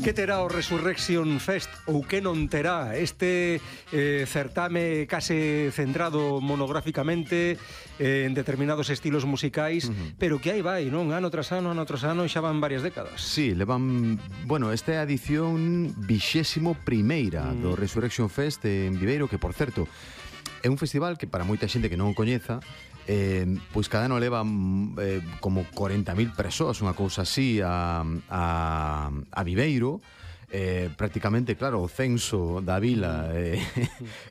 Que terá o Resurrection Fest ou que non terá este certame case centrado monográficamente en determinados estilos musicais, pero que aí vai, non? Ano tras ano, xa van varias décadas. Sí, levan... Bueno, esta é a edición 21ª do Resurrection Fest en Viveiro, que, por certo, é un festival que para moita xente que non o coñeza, pois cada ano leva como 40.000 persoas, unha cousa así, a Viveiro. Prácticamente, claro, o censo da vila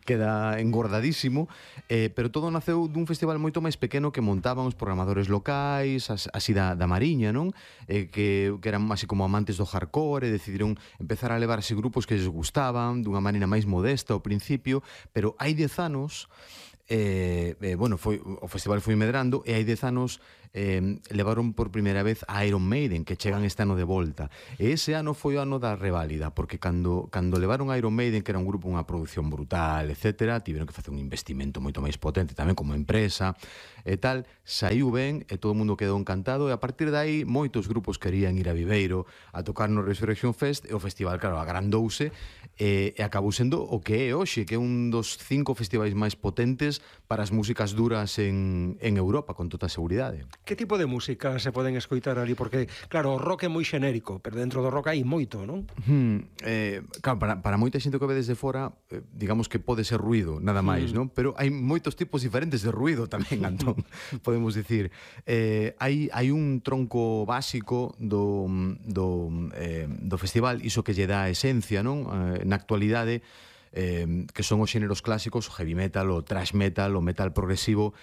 queda engordadísimo, pero todo naceu dun festival moito máis pequeno que montaban os programadores locais, así da Mariña, non? Que eran así como amantes do hardcore, e decidiron empezar a levarse grupos que les gustaban dunha maneira máis modesta ao principio, pero hai 10 anos bueno, o festival foi medrando, e hai 10 anos levaron por primeira vez a Iron Maiden, que chegan este ano de volta, e ese ano foi o ano da reválida, porque cando levaron a Iron Maiden, que era un grupo, unha produción brutal, etc., tiveron que facer un investimento moito máis potente tamén como empresa e tal, saiu ben e todo o mundo quedou encantado, e a partir de aí moitos grupos querían ir a Viveiro a tocar no Resurrection Fest, e o festival, claro, agrandouse e acabou sendo o que é hoxe, que é un dos 5 festivais máis potentes para as músicas duras en Europa, con toda a seguridade. Que tipo de música se poden escoitar ali? Porque, claro, o rock é moi xenérico, pero dentro do rock hai moito, non? Claro, para moita xente que ve desde fora, digamos que pode ser ruido, nada máis, non? Pero hai moitos tipos diferentes de ruido tamén, Antón, podemos dicir. Hai un tronco básico do festival, iso que lle dá a esencia, non? Na actualidade, que son os xéneros clásicos, o heavy metal, o thrash metal, o metal progresivo.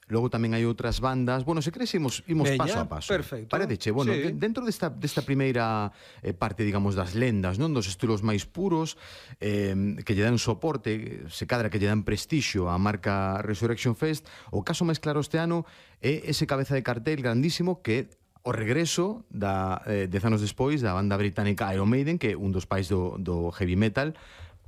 Logo tamén hai outras bandas. Bueno, se queres imos paso a paso. Perfecto. Paredeche, bueno, sí. Dentro desta primeira parte, digamos, das lendas, non? Dos estilos máis puros, que lle dan soporte, se cadra que lle dan prestixio á marca Resurrection Fest. O caso máis claro este ano é ese cabeza de cartel grandísimo que o regreso 10 anos despois da banda británica Iron Maiden, que é un dos pais do heavy metal,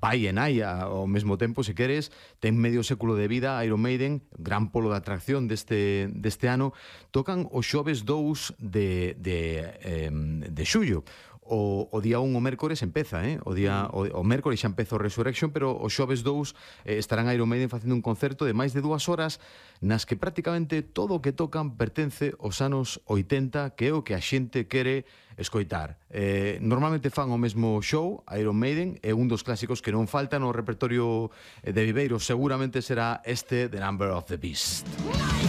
pai e nai ao mesmo tempo, se queres, ten medio século de vida. Iron Maiden, gran polo de atracción deste ano, tocan o xoves 2 de xullo. O día 1, o mércores, empeza, o mércores xa empeza o Resurrection, pero o xoves 2 estarán Iron Maiden facendo un concerto de máis de 2 horas, nas que prácticamente todo o que tocan pertence aos anos 80, que é o que a xente quere escoitar. Normalmente fan o mesmo show. Iron Maiden é un dos clásicos que non falta no repertorio de Viveiro. Seguramente será este, The Number of the Beast.